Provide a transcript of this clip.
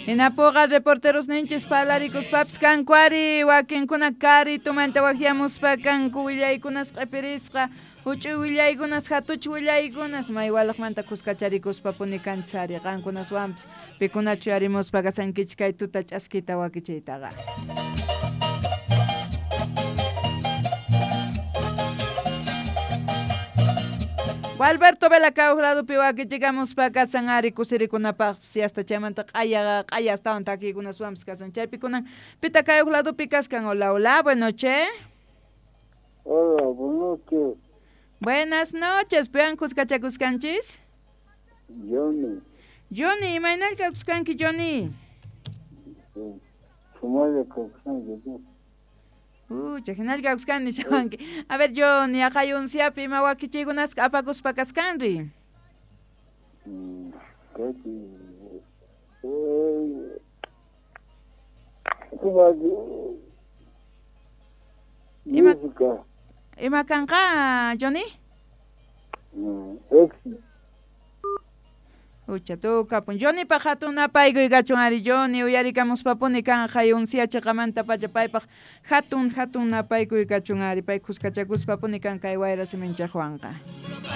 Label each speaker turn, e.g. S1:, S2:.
S1: Hinapuqa reporteros ninchis parlarikuspapas kanku ari wakinkuna karitumanta waqyamuspa kanku willaykunas q'ipirisqa huch'uy willaykunas hatuch willaykunas maywalaqmanta kuskacharikuspa puni kanchis ari qankunaswanpas pikunachu yarimuspa kasankichik kay tuta ch'askita wakichiytaqa. Gualberto Vela kawaq ladopi wakichikamuspa kasan ari kusirikunapaqpis hasta chaymanta q'aya q'aya astawan takiykunaswanpas kasan chaypi kunan pita kayuq ladopi kaskan. Hola, hola, buenas noches.
S2: Hola, buenas noches.
S1: Buenas noches, piwan kuskachakuskanchis?
S2: Johnny.
S1: Johnny, imaynalla kawskanki Johnny?
S2: Sumaqlla kawsanki.
S1: Ucha, hinalla kawskanki nishawanki. A ver, Johnny, aqay unsiapi ima wakichiykunasqa apakuspa kaskanri? Ima
S2: Música.
S1: Ima kanqa, Johnny?
S2: Éxito.
S1: Ucha tukapun. Johnnypaq hatun napaykuy kachun ari Johnny uyarikamuspapuni kanqa unsia chiqamanta pacha paypaq hatun hatun napaykuy kachun ari pay kuskachakuspapuni kan kay wayra siminchaqwanqa.